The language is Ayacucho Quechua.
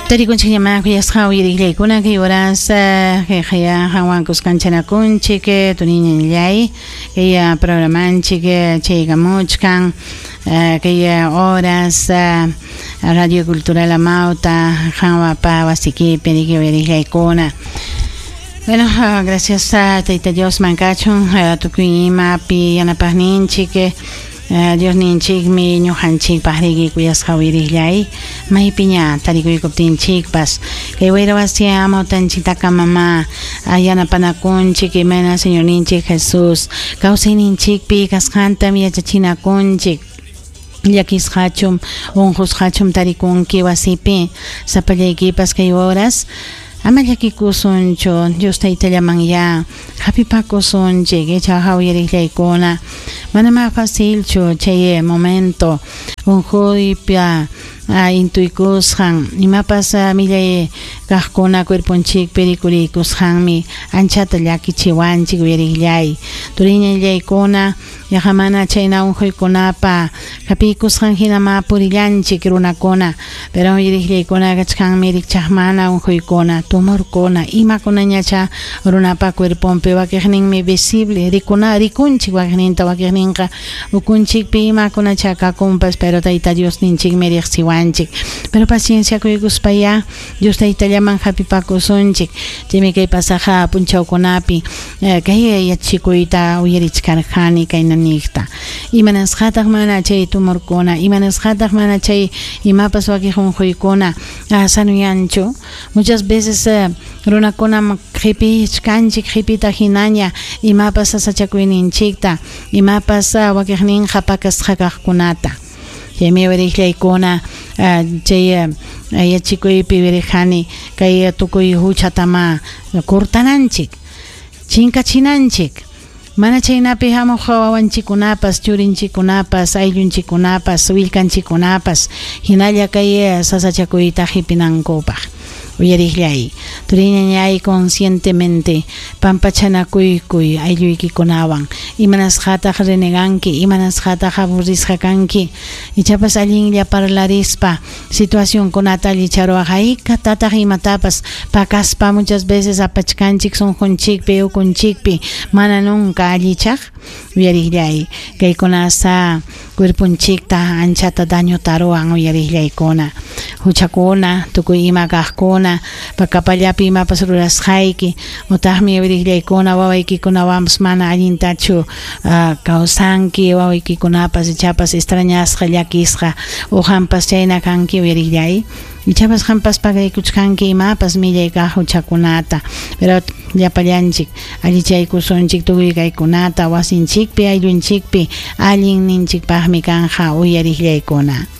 Tarikunchikñamá kuyasqa uyariqllaykuna kay horas kayqaya qanwan kuskanchanakunchik turiñallay kay programanchik chaykamuchkan kay horas Radio Cultural Amauta qanwapa wasikipi riki uyariqllaykuna. Bueno, gracias a Tayta Diosman kachun tukuy imapi yanapaqninchik Diosninchikmi ñuqanchikpaq riki kuyasqa uyariqllay maypiña tarikuykuptinchikpas kay wayra wasi amawtanchiktakamamá yanapanakunchik imayna Señorninchik Jesús kawsayninchikpi kasqantam yachachinakunchik. Llakisqachum unqusqachum tarikunki wasipi sapallaykipas kay horas ama llakikusunchu Dios Taytallamanyá hapipakusunchik ichaqa uyariqllaykuna manamá facilchu chay momento unquypa intuykusqan imapas millay kaqkuna cuerponchikpi rikuriykusqanmi anchata llakichiwanchik uyariqllay turiñallaykuna yaqa mana chayna unquykunapa hapiykusqan hinamá purillanchik runakuna pero uyariqllaykuna kachkanmi rikchaqmana unquykuna tumorkuna imakunañacha runapa cuerponpi wakiqninmi visible rikuna rikunchik wakiqninta wakiqninqa ukunchikpi imakunacha kakunpas pero Tayta Diosninchikmi riqsiwanchik pero paciencia kuykuspayá Dios Taytallaman hapipakusunchik chaymi kay pasaqa punchawkunapi kay yachachikuyta uyarichkarqani kayna niqta imanasqataq mana chay tumorkuna imanasqataq mana chay imapas wakiq unquykuna sanuyanchu muchas veces runakunam qipichkanchik qipita hinaña imapas sasachakuyninchikta imapas wakiqninqa pakasqa kaqkunata chaymi uyariqllaykuna chay yachikuypi uyariqani kay tukuy huchatama cortananchik chinkachinanchik mana chaynapi hamuq wawanchikkunapas churinchikkunapas ayllunchikkunapas willkanchikkunapas hinalla kay sasachakuyta qipinankupaq uyariqllay turiñañay conscientemente pampachanakuykuy aylluykikunawan imanasqataq reneganki imanasqataq aburrisqa kanki ichapas allinlla parlarispa situacionkunata allicharuwaq haykatataq imatapas pakaspa muchas veces apachkanchik sunqunchikpi ukunchikpi mana nunca allichaq uyariqllay kaykunasa cuerponchikta anchata dañota ruwan uyariqllaykuna huchakuna tukuy ima kaqkuna pakapallapi imapas rurasqayki utaqmi uyariqllaykuna wawaykikunawanpas mana allintachu kawsanki wawaykikunapas ichapas extrañasqa llakisqa o qampas chayna kanki uyariqllay ichapas qampas pagaykuchkanki imapas millay kaq huchakunata pero llapallanchik allichaykusunchik tukuy kaykunata wasinchikpi ayllunchikpi allinninchikpaqmi kanja uyariqllaykuna.